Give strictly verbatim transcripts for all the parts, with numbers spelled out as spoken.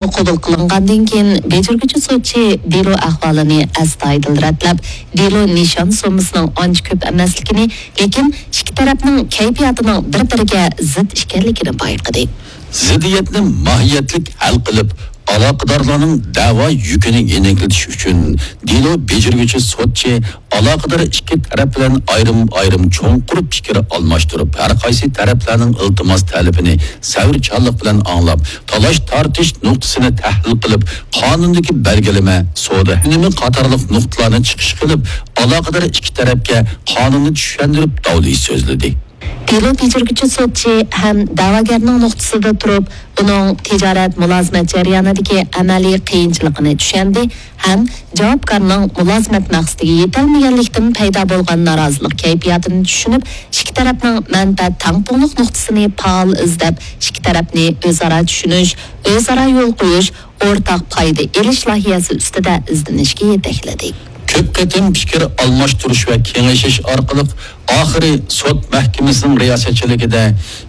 قوبۇل قىلىنغاندىن كېيىن، بېجىرگۈچى سوتچى دېلو ئەھۋالىنى ئەستايىدىل رەتلەپ، دېلو نىشان سوممىسىنىڭ ئانچە كۆپ ئەمەسلىكىنى، لېكىن ئىككى تەرەپنىڭ كەيپىياتىنىڭ بىر-بىرىگە زىت ئىكەنلىكىنى بايقىدى. زىددىيەتنى ماھىيەتلىك ھەل قىلىپ، ئالاقىدارلارنىڭ دەۋا يۈكىنى يېنىكلىتىش ئۈچۈن دېلو بېجىرگۈچى سوتچى ئالاقىدار ئىككى تەرەپ بىلەن ئايرىم-ئايرىم چوڭقۇر پىكىر ئالماشتۇرۇپ، ھەر قايسى تەرەپلەرنىڭ ئىلتىماس تەلىپىنى سەۋرچانلىق بىلەن ئاڭلاپ، تالاش-تارتىش نۇقتىسىنى تەھلىل قىلىپ، قانۇندىكى بەلگىلىمە، سودا ئۈنۈمى قاتارلىق نۇقتىلارنى چىقىش قىلىپ، ئالاقىدار ئىككى تەرەپكە قانۇننى چۈشەندۈرۈپ داۋلىشىش سۆزلىدى. دېلو بېجىرگۈچى سوتچى ھەم دەۋاگەرنىڭ نۇقتىسىدا تۇرۇپ، ئۇنىڭ تىجارەت مۇلازىمەت جەريانىدىكى ئەمەلىي قىيىنچىلىقىنى چۈشەندى ھەم جاۋابكارنىڭ مۇلازىمەت مەقسىتىگە يېتەلمىگەنلىكتىن پەيدا بولغان نارازىلىق كەيپىياتىنى چۈشىنىپ، ئىككى تەرەپنىڭ مەنپەئەت تەڭپۇڭلۇق نۇقتىسىنى پائال ئىزدەپ، ئىككى تەرەپنى ئۆزئارا چۈشىنىش، ئۆزئارا يول قويۇش، ئورتاق پايدا ئېلىش لايىھەسى ئۈستىدە ئىزدىنىشكە يېتەكلىدى. كۆپ قېتىم پىكىر ئالماشتۇرۇش ۋە كېڭىشىش ئارقىلىق، ئاخىرى سوت مەھكىمىسىنىڭ رىياسەتچىلىكىدە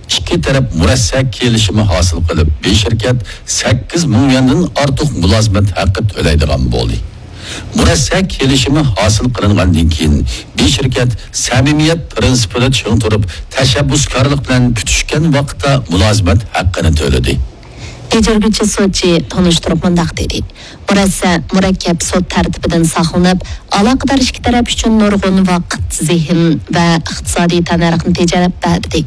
ئىككى تەرەپ مۇرەسسە كېلىشىمى ھاسىل قىلىپ، بىر شىركەت سەككىز مىڭ يۈەندىن ئارتۇق مۇلازىمەت ھەققى تۆلەيدىغان بولدى. مۇرەسسە كېلىشىمى ھاسىل قىلىنغاندىن كېيىن، بىر شىركەت سەمىمىيەت پىرىنسىپىدا چىڭ تۇرۇپ، تەشەببۇسكارلىق بىلەن پۈتۈشكەن ۋاقىتتا مۇلازىمەت ھەققىنى تۆلىدى. بېجىرگۈچى سوتچى تونۇشتۇرۇپ مۇنداق دېدى: مۇرەسسە مۇرەككەپ سوت تەرتىپىدىن ساقلىنىپ، ئالاقىدار ئىككى تەرەپ ئۈچۈن نۇرغۇن ۋاقىت، زېھىن ۋە ئىقتىسادىي تەننەرخنى تېجەپ بەردى.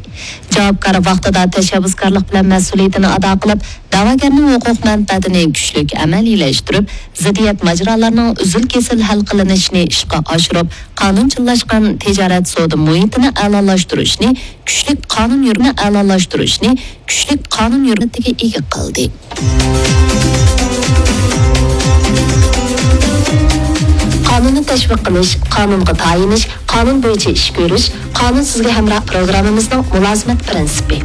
جاۋابكار ۋاقتىدا تەشەببۇسكارلىق بىلەن مەسئۇلىيىتىنى ئادا قىلىپ، دەۋاگەرنىڭ ھوقۇق مەنپەئەتىنى كۈچلۈك ئەمەلىيلەشتۈرۈپ، زىددىيەت ماجىرالارنىڭ ئۈزۈل-كېسىل ھەل قىلىنىشىنى ئىشقا ئاشۇرۇپ، قانۇنچىللاشقان تىجارەت سودا مۇھىتىنى ئەلالاشتۇرۇشنى، كۈچلۈك قانۇن يۈرمە ئەلالاشتۇرۇشنى، كۈچلۈك قانۇن يۈرمىتىگە ئىگە قىلدى. قانۇننى تەشۋىق قىلىش، قانۇنغا تايىنىش، قانۇن بويىچە ئىش كۆرۈش، قانۇن سىزگە ھەمراھ پىروگراممىمىزنىڭ مۇلازىمەت پىرىنسىپى.